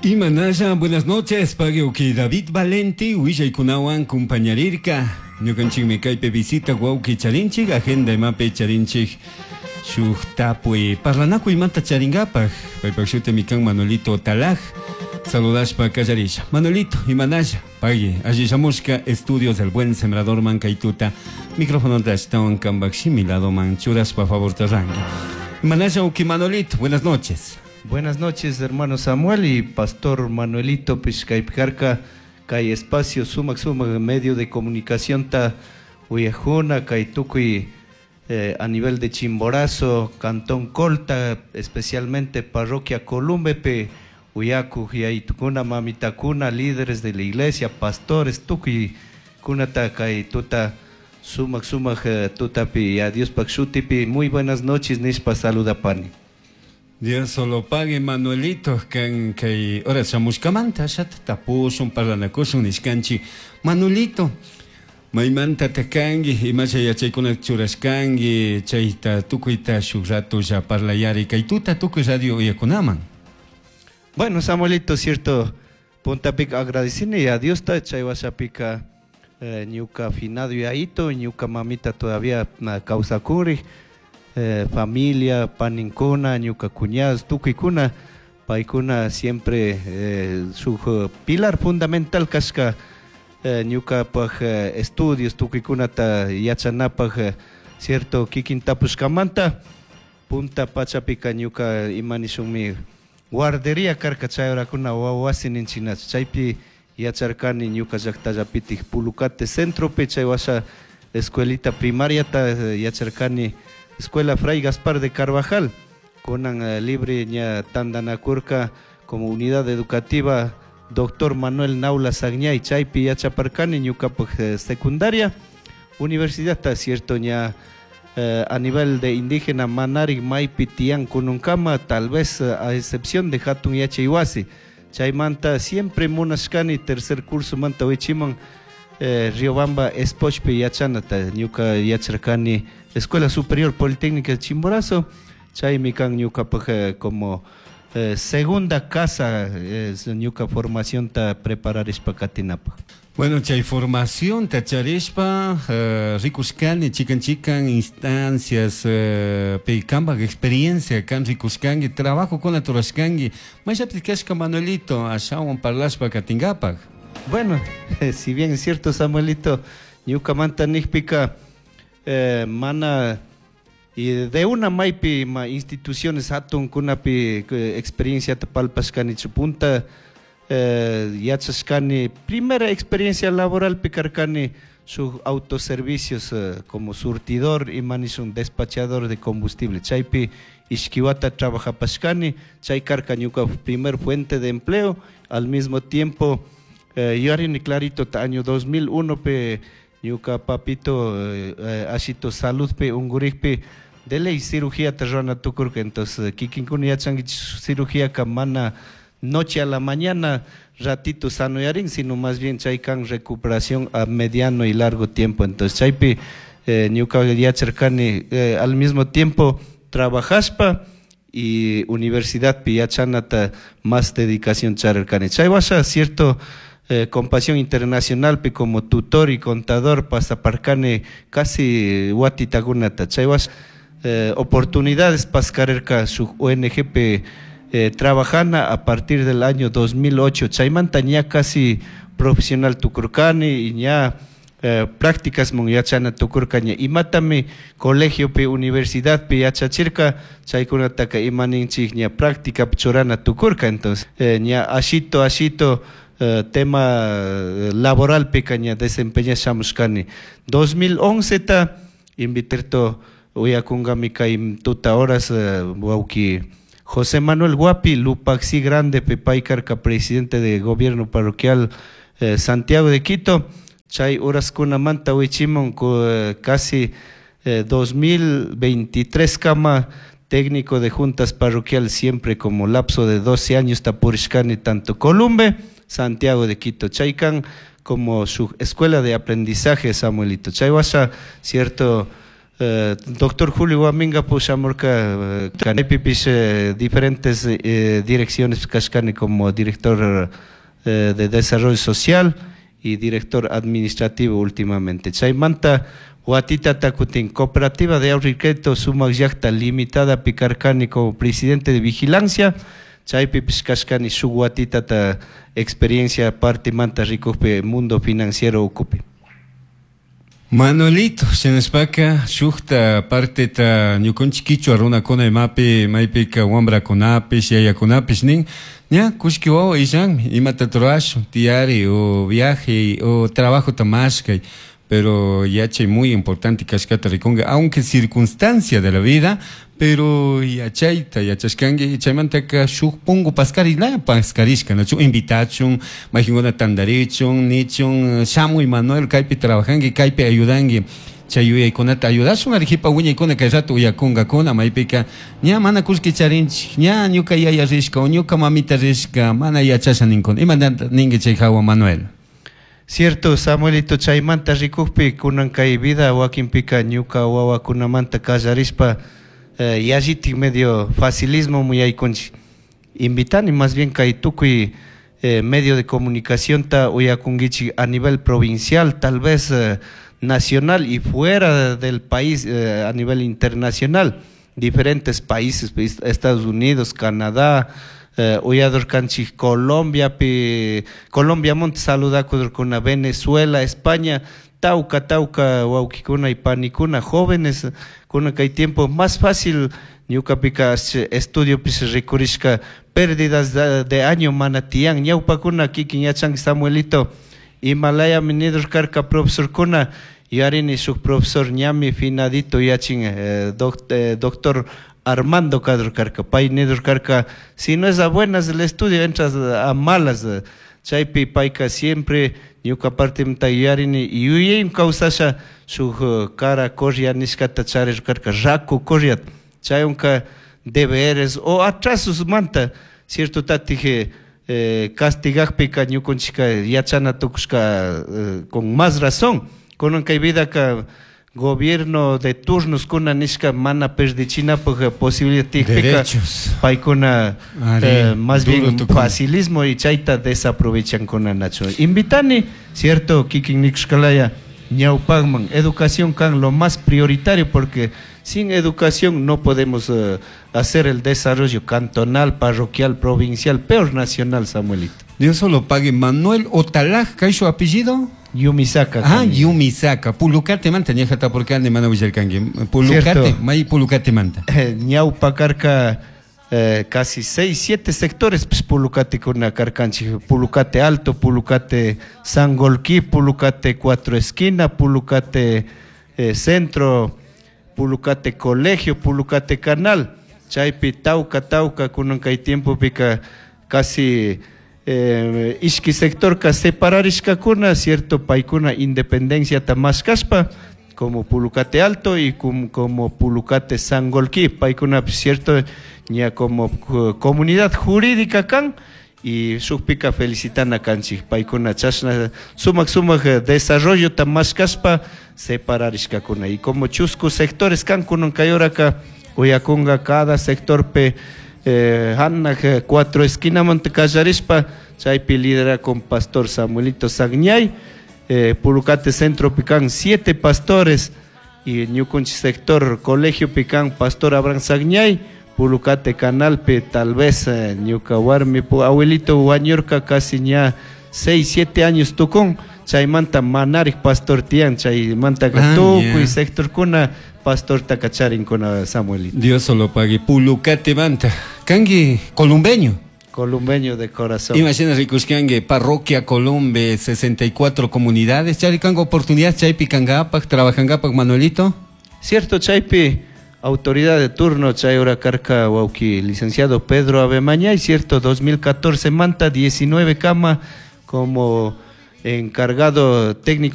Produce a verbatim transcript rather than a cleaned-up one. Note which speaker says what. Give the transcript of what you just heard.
Speaker 1: Imanalla, buenas noches, pagui David Valenti, willaykunawan kumpañarirka. Ñukanchikmi kaypi visita wawki charinchik, agenda imapi charinchik shuk tapuy parlanakuymanta charingapaj. Paypak shutimi kan Manuelito Talaj. Saludashpa kallarisha. Manuelito, imanalla, pagui, alli shamushka estudios del Buen Sembrador man kaytuta. Micrófono ashtawan kambak shimi ladoman churashpa favorta rangi. Imanalla, uki Manuelito, buenas noches.
Speaker 2: Buenas noches, hermano Samuel y pastor Manuelito Pishkaypikarka, kay espacio sumak sumak medio de comunicación ta uyajuna, kay tukuy eh, a nivel de Chimborazo, Cantón Colta, especialmente parroquia Columbepe, uyaku yaitukuna, mamitakuna, líderes de la iglesia, pastores, tukuy kunata kay tuta sumak sumak eh, tutapi, a Dios shutipi, muy buenas noches, nishpa saludapani.
Speaker 1: Dios solo pague Manuelito kan kay ora shamushkamanta shat tapushun parlanakushun nishkanchi Manuelito maymanta takanki imasha yachaykuna churashkanki chayta tukuyta shuk rato ya parlayari kay tuta tukuy radio uyakunaman.
Speaker 2: Bueno, Samuelito, cierto, puntapika agradecine a Dios ta chay washapika eh, ñuka finado yayito ñuka mamita todavía kawsakuri. Eh, familia, paninkuna, ñuka cuñados, tukuykuna, paykuna siempre eh, su pilar fundamental kashka eh, ñukapaj eh, estudios tukuykunata yachanapaj eh, cierto kikin tapushkamanta punta pachapika ñuka imanishunmi guardería karka chay horakuna wawasi ninchinachu chaypi yacharkani ñuka llaqtallapitik Pulucate centropi chay washa escuelita primariata eh, yacharkani Escuela Fray Gaspar de Carvajal, kunan eh, libre ña tandanakurka como unidad educativa Doctor Manuel Naula Sagñay chaypi yachaparkani ñukapaj eh, secundaria universidad ta cierto ña eh, a nivel de indígena manarik maypi tiyan kununkama tal vez eh, a excepción de hatun yachaywasi chaymanta siempre munashkani tercer curso manta wichiman eh, Riobamba Espochpi yachanata ñuka yacharkani Escuela Superior Politécnica de Chimborazo chaymi kan ñukapaj eh, como eh, segunda casa eh, ñuka formación ta prepararishpa katinapaj.
Speaker 1: Bueno, chay formación tacharishpa eh, rikushkani chikan chikan instancias eh, pi kambak experiencia kan rikushkanki trabajo kuna rurashkanki mayllapi kashka Manuelito ashawan parlashpa katinkapak.
Speaker 2: Bueno, si bien es cierto, Samuelito, ñukamanta nijpika eh, mana y de una maypi ma instituciones hatun kunapi eh, experiencia palpashkani punta eh, yachashkani primera experiencia laboral pi karkani sus autoservicios eh, como surtidor y manishun despachador de combustible chaypi ishki wata trabajapashkani chay karka ñuka primer fuente de empleo al mismo tiempo eh, yuyarini clarito ta año dos mil uno pe ñuka papito eh, eh, ashito salud pe ungurikpi de ley cirugía ta rurana tukurka entonces kikinkuna yachankichik cirugía ka mana noche a la mañana ratito sanoyarin sino más bien chay kan recuperación a mediano y largo tiempo entonces chaypi eh, ñuka yacharkani eh, al mismo tiempo trabajashpa y universidad pi yachanata más dedicación charirkani chay washa cierto eh, Compasión Internacional pi como tutor y contador pasaparkani casi watitakunata chay washa eh, oportunidades paskarerka su O N G pe, eh, trabajana a partir del año dos mil ocho chaymanta ña casi profesional tukurkani y ña, eh, prácticas mon yachana tukurka ña imatami colegio pi universidad pi yachachirka chaykunataka imaninchik ña práctica churana tukurka entonces, eh, ña ashito ashito eh, tema laboral pi ña desempeñashamushkani dos mil once ta inviterto uyakunkami kay tuta horas, eh, wawki José Manuel Guapi Lupaxi Grande pay karka presidente de gobierno parroquial, eh, Santiago de Quito chay horaskunamanta wichimun ku, eh, casi, eh, dos mil veintitrés kama técnico de juntas parroquial siempre como lapso de doce años tapurishkani tanto Columbe, Santiago de Quito, chaykan como su escuela de aprendizaje Samuelito. Chay washa cierto, Eh, doctor Julio Guaminga pushamurka kaypipish eh, diferentes eh, direcciones kashkani como director eh, de desarrollo social y director administrativo últimamente. Chaymanta watitata kutin Cooperativa de Ahorro y Crédito Sumak Llakta Limitada pi karkani como presidente de vigilancia. Chaypipish kashkani shuk watitata experiencia partimanta rikukpi mundo financiero ukupi.
Speaker 1: Manuelito, shinashpaka shukta parteta ñukanchik kichwa runakuna imapi maypika wambrakunapish yayakunapish nin ña kullki wawa illanmi imata rurashun tiyari o viaje o trabajota mashkay, pero yachay muy importante kashkata rikunka aunque circunstancia de la vida, pero yachayta yachashkanki chaymantaka shuk pungu pascarilaya pascarishka nachu invitachun mayqinkuna tantarichun nichun shamuy Manuel kaypi trabajanki kaypi ayudanki chay yuyaykunata ayudashun Arequipa wiñaykuna kay rato uyakunkakuna maypika ña mana kullki charinchik ña ñuka yaya rishka o ñuka mamita rishka mana yachasha ninkuna imantata ninki chay hawa Manuel.
Speaker 2: Cierto, Samuelito, chaymanta rikukpi kunan kay vida wakinpika ñuka wawakunamanta kallarishpa eh, yallitik medio facilismo muyaykunchik. Invitani más bien kay tukuy eh, medio de comunicación ta uyakunkichik a nivel provincial, tal vez eh, nacional y fuera del país eh, a nivel internacional, diferentes países, pues, Estados Unidos, Canadá, eh, uyadurkanchik Colombia, pi, Colombia monte saludakudurkuna, Venezuela, España, tauka, tauka, wawkikuna y panikuna, jóvenes, kuna kay tiempo más fácil ñukapika estudio pis rikurishka pérdidas de, de año mana tiyan ñawpakuna kikin yachanki Samuelito Himalaya nidur karka profesorkuna yuyarini shuk profesor ñami finadito yachin eh, doc, eh, doctor Armando kadur karka pay nidur karka si no es a buenas el estudio entras a malas chaypi payka siempre ñuka partimanta yuyarini yuyaymi kawsasha shuk cara correa nishkata charir karka raku correa chaywanka deberes o atrasos manta cierto tatik eh, castigakpika ñukunchika yachana tukushka eh, con más razón kunan kay vidaka gobierno de turnos kuna nishka mana perdichinapaj posibilidad tiyakpika paykuna eh, más bien facilismo y chayta desaprovechankuna nacho invitani cierto kikin nikushkalaya ñawpakman educación kan lo más prioritario porque sin educación no podemos uh, hacer el desarrollo cantonal, parroquial, provincial, peor nacional, Samuelito.
Speaker 1: Dios solo pague. Manuel Otalaj, ¿qué es su apellido?
Speaker 2: Yumisaka.
Speaker 1: Ah, Yumisaka. Pulucate manta, ñajata porque ande mana willarkanki. Pulucate, may Pulucate manta.
Speaker 2: Ñawpa karka eh, casi seis, siete sectores pues, Pulucate kuna karkanchik. Pulucate Alto, Pulucate Sangolquí, Pulucate Cuatro Esquina, Pulucate eh, Centro, Pulucate Colegio, Pulucate Canal. Chaypi tauka tauka kunan kay tiempo pika casi eh, ishki sector ka separarishkakuna cierto paykuna independencia mashkashpa como Pulucate Alto y como, como Pulucate Sangolquí paykuna cierto ña como comunidad jurídica kan y shukpika felicitana kanchik paykuna chashna sumak sumak desarrollo mashkashpa separarishkakuna y como chusku sectores kan kunan kay horaka uyakunga cada sector pe eh, hannak cuatro esquinamanta kallarishpa chaypi lidera con pastor Samuelito Sagñay eh, Pulucate Centro pican siete pastores y ñukunchik sector colegio pican pastor Abraham Sagñay Pulucate Canalpe tal vez eh, ñuka warmi abuelito wañurka casi ña seis, siete años tukun chaymanta manarik pastor tiyan chaymanta ah, tukuy yeah. sectorkuna pastor takacharinkuna Samuelito.
Speaker 1: Dios solo pague. Pulucate manta. Kangi columbeño.
Speaker 2: Columbeño de corazón.
Speaker 1: Imagina rikushkangi parroquia Columbe, sesenta y cuatro comunidades. Charikango oportunidad chaypi kangapak, trabajangapak Manuelito.
Speaker 2: Cierto, chaypi autoridad de turno chay hora karka wauki licenciado Pedro Avemañay, cierto, dos mil catorce manta diecinueve cama como encargado técnico